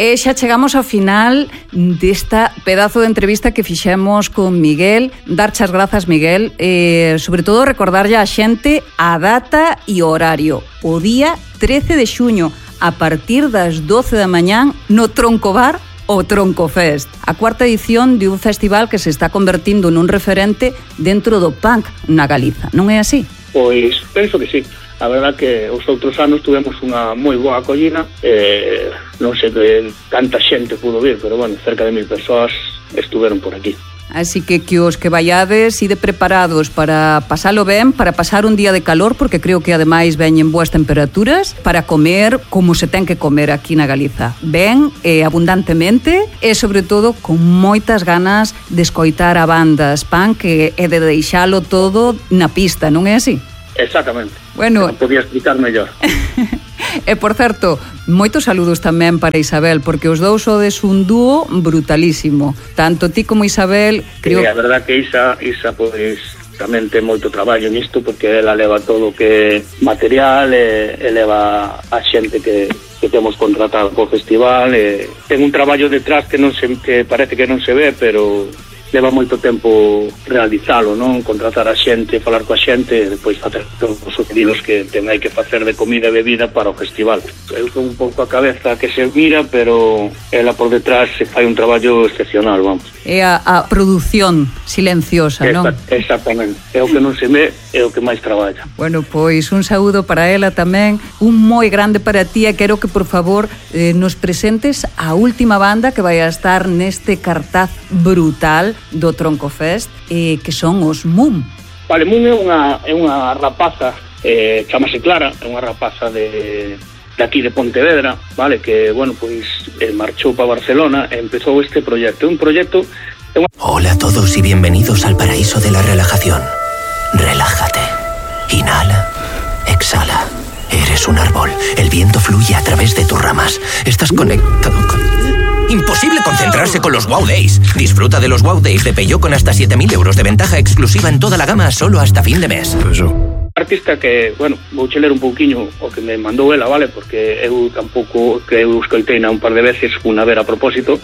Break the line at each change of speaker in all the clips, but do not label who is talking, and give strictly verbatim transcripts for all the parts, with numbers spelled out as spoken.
E xa chegamos ao final desta pedazo de entrevista que fixemos con Miguel. Darche as grazas, Miguel, e sobre todo recordarlle á xente a data e o horario. O día trece de xuño, a partir das doce da mañán, no Troncobar, o Troncofest, a cuarta edición de un festival que se está convertindo nun referente dentro do punk na Galiza, non é así?
Pois penso que sí. A verdad que os outros anos tuvemos unha moi boa acollida, eh, non sei que tanta xente pudo vir, pero bueno, cerca de mil persoas estuveron por aquí.
Así que que os que vaiades ide preparados para pasalo ben, para pasar un día de calor, porque creo que ademais veñen boas temperaturas, para comer como se ten que comer aquí na Galiza. Ben, eh, abundantemente, e sobre todo con moitas ganas de escoitar a bandas punk e de deixalo todo na pista, non é así?
Exactamente.
Bueno,
non podía explicar mellor.
E, por certo, moitos saludos tamén para Isabel, porque os dous sodes un dúo brutalísimo. Tanto ti como Isabel...
Creo... Sí, a verdad que Isa, Isa pois, tamén ten moito traballo nisto, porque ela leva todo o que material, e, e leva a xente que, que temos contratado co festival, e ten un traballo detrás que, non se, que parece que non se ve, pero... leva moito tempo realizalo, non? Contratar a xente, falar coa xente e depois facer todos os pedidos que ten hai que facer de comida e bebida para o festival. Eu son un pouco a cabeza que se mira, pero ela por detrás se fai un traballo excepcional, vamos.
É a, a produción silenciosa, non?
Exactamente. É o que non se ve, é o que máis traballa.
Bueno, pois un saúdo para ela tamén, un moi grande para ti, e quero que por favor eh, nos presentes a última banda que vai a estar neste cartaz brutal do Troncofest, eh, que son os Mum.
Vale, Mum é unha, é unha rapaza, eh, chamase Clara, é unha rapaza de, de aquí de Pontevedra, vale, que, bueno, pois eh, marchou para Barcelona e empezou este proxecto. Un proxecto... Una...
Hola a todos y bienvenidos al paraíso de la relajación. Relájate. Inhala. Exhala. Eres un árbol. El viento fluye a través de tus ramas. Estás conectado con... Imposible concentrarse con los Wow Days. Disfruta de los Wow Days de Peugeot con hasta siete mil euros de ventaja exclusiva en toda la gama solo hasta fin de mes.
Artista que, bueno, vou che ler un pouquiño o que me mandou ela, vale, porque eu tampouco que eu escoiteina un par de veces unha ver a propósito.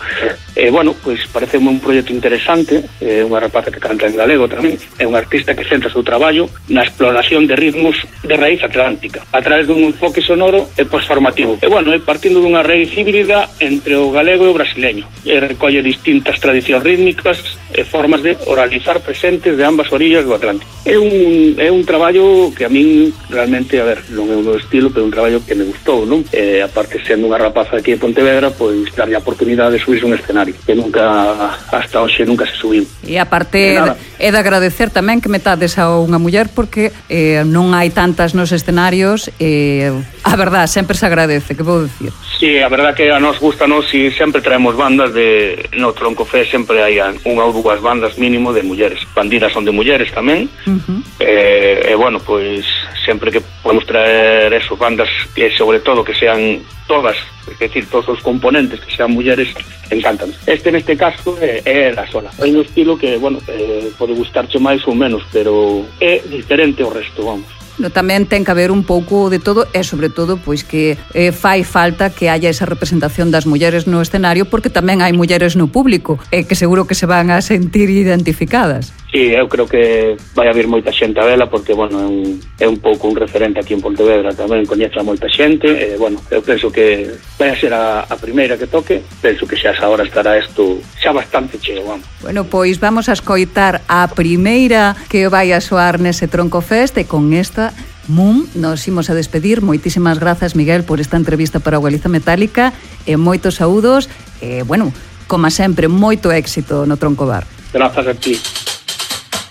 E, eh, bueno, pois parece un proxecto interesante, é eh, unha rapaza que canta en galego tamén, é un artista que centra o seu traballo na exploración de ritmos de raíz atlántica, a través dun enfoque sonoro e posformativo. E, bueno, é partindo dunha raíz híbrida entre o galego e o brasileño. E recolle distintas tradicións rítmicas e formas de oralizar presentes de ambas orillas do Atlántico. É un, é un traballo que a min realmente, a ver, non é o meu estilo, pero un traballo que me gustou, non? E aparte, sendo unha rapaza aquí de Pontevedra, pois darlle a oportunidade de subirse un escenario, que nunca, hasta hoxe, nunca se subiu.
E aparte, é de agradecer tamén que metades a unha muller, porque eh, non hai tantas nos escenarios, e a verdad, sempre se agradece, que vou dicir?
Sí, a verdad que a nos gusta, nos, e sempre traemos bandas de, no Troncofest sempre hai unha ou dúas bandas mínimo de mulleres. Bandidas son de mulleres tamén, uh-huh. e, e bueno, pois sempre que podemos traer eso, bandas que sobre todo que sean todas, es decir, todos os componentes que sean mulleres, encantan. Este neste caso é, é la sola. Hai un estilo que, bueno, eh, pode gustarche máis ou menos, pero é diferente ao resto, vamos.
No, tamén ten que haber un pouco de todo, e sobre todo pois que eh, fai falta que haya esa representación das mulleres no escenario, porque tamén hai mulleres no público e que seguro que se van a sentir identificadas.
Sí, eu creo que vai haber moita xente a vela, porque, bueno, é un, é un pouco un referente aquí en Pontevedra, tamén coñece a moita xente, e, bueno, eu penso que vai a ser a, a primeira que toque, penso que xa esa hora estará isto xa bastante cheo, vamos.
Bueno, pois vamos a escoitar a primeira que vai a soar nese Troncofest, e con esta Mum nos imos a despedir. Moitísimas grazas, Miguel, por esta entrevista para o Galiza Metálica, e moitos saúdos, e, bueno, como sempre, moito éxito no Troncobar.
Grazas a ti.